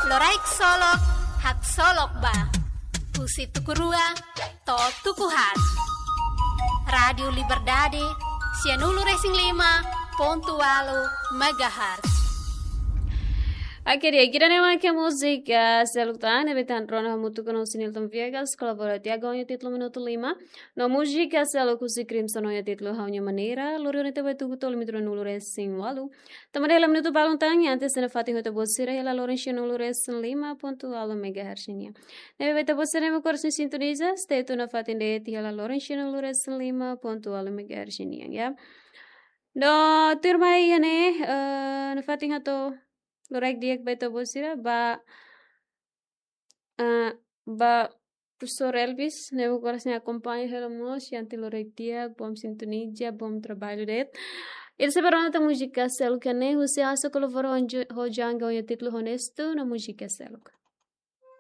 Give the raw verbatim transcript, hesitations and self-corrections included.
Loraik Solok, haksolok ba. Husi tuku rua to'o tuku haat. Rádiu Liberdade, sianulu-resin-lima pontu ualu megahertz. Oke, di'ak, ida-ne'e mak múzika seluk tan ne'ebé tan rona hamutuk ho Nilton Viegas, kolabora tiha ho nia títulu Minutu Lima. No múzika seluk husi Crimson ho nia títulu Ha'u-nia Maneira, lori ona tiha ba tuku tolu minutu ruanulu-resin-ualu. Tanba hela minutu balun tan, antes de nafatin ho ita-boot sira hela loron sianulu-resin-lima pontu ualu megahertz nian. Ne'ebé ita-boot sira ne'ebé kores sintoniza, stay tune nafatin de'it hela loron sianulu-resin-lima pontu ualu megahertz nian, ya. No tuirmai iha ne'e, eh, nafatin hato'o loraik di'ak ba ita-boot sira, ba, eh, ba Profesór Elvis, ne'ebé kores ne'e akompaña hela mós, iha ne'e loraik di'ak, bom sintoniza, bom traballu de'it. Ita sei bá rona tan múzika seluk iha ne'e, husi Aso Koloforo ho Jan, ho nia títulu Honestu, no múzika seluk.